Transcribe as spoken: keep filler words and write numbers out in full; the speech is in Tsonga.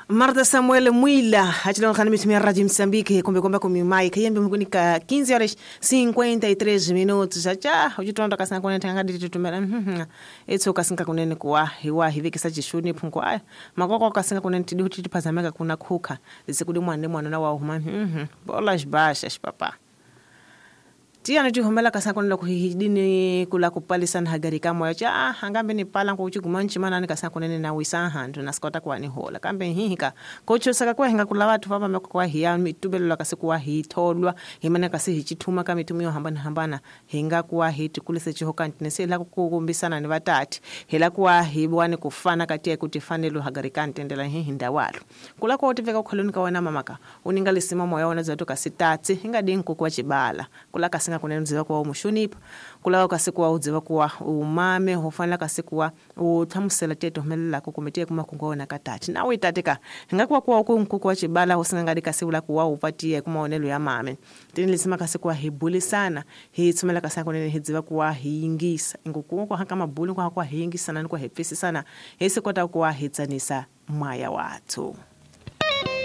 Marta Samuel Mwila achilonga mitumia Radio Msambiki kumbe kumbe kumi mike yembe mkunika quinze horas cinquenta e três minutos já já uchitonda kasanga kunene tanga dititumela mhm etso kasinga kunene kuwa hiwa hivikisa chishuni phunko aya makoko kasinga kunene tidi kuti tipazameka kuna khuka lisikudi mwana mwana na wa huma mhm bolas baixas papa tiana tihomela kasanga kunene kuhidini kula kupalisana hagarika moyo cha hangambe ni pala nkuchiguma nchimana ni kasanga kunene na wisa handu na sikota kwa ni hola kambe hihika kochosaka kwa hinga kula watu papa meko kwa hiya mitubelo la kasikuwa hitolwa himana kasi hichituma kama mitumio hambana hambana hinga kuwa hiti kulise chihoka ntinese la kukumbisana ni vatati hila kuwa hibwani kufana kati ya kutifanelo hagarika ntendela hihinda walo kula kwa utiveka ukholoni kawana mamaka uninga lisima moyo wana zatu kasitatsi hinga dinku kwa chibala kula kasinga kunene udziva kuwa umushunipa kula kasikuwa udziva kuwa umame hufanela kasikuwa uthamusela teto humelelako kumetiye kumakungo katati nawe itatika hingakuwa kuwa uku nkuku wa chibala husingangadi kasiula kuwa upatiye kumaonelo ya mame tini lisima kasikuwa hibulisana hitsumela kasinga kunene hidziva kuwa hiyingisa inguku kwa haka mabuli kwa kuwa hiyingisana ni kwa hipfisisana hisikota kuwa hitsanisa mwaya wathu.